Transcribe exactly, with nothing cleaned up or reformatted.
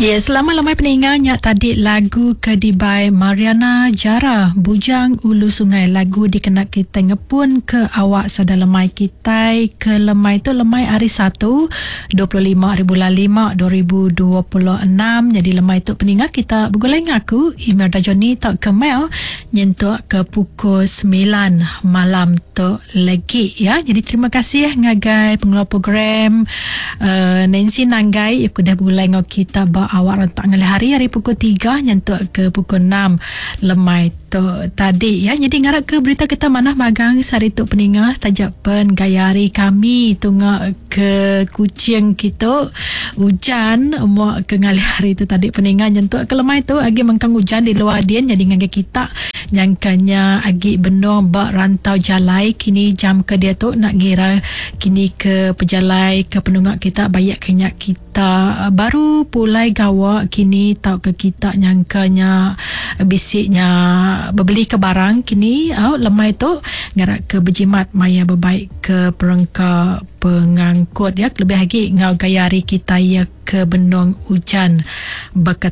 Ya, selamat lemai peninga nya tadi lagu ke dibai Mariana Jara Bujang Ulu Sungai lagu dikena kita ngepun ke awak sada lemai kitai ke lemai tu lemai hari Satu dua puluh lima hari bulan lima dua ribu dua puluh enam. Jadi lemai tu peninga kita begulai ngaku Imelda Johnny tau ke Mel nyentuk ke pukul sembilan malam tu lagi ya. Jadi terima kasih ngagai pengelola program uh, Nancy Nanggai yang udah begulai ngau kita ba awak rentak ngalih hari hari pukul tiga nyentuk ke pukul enam lemai tu tadi ya. Jadi ngarap ke berita kita manah magang sehari tu peninga tajak pen gaya hari kami tunga ke Kuching kita hujan muak ke ngalih hari tu tadi peninga nyentuk ke lemai tu agi mengkang hujan di luar din. Jadi ngagai kita nyangkanya agi benung ba rantau jalai kini jam ke dia tu nak ngira kini ke pejalai ke penungak kita bayak kenyak kita baru pulai gawa kini tau ke kita nyangkanya bisiknya berbeli ke barang kini au lemai tu ngarak ke berjimat maya berbaik ke perengka pengangkut ya, lebih lagi ngau gaya hari kita ya ke benung hujan bakat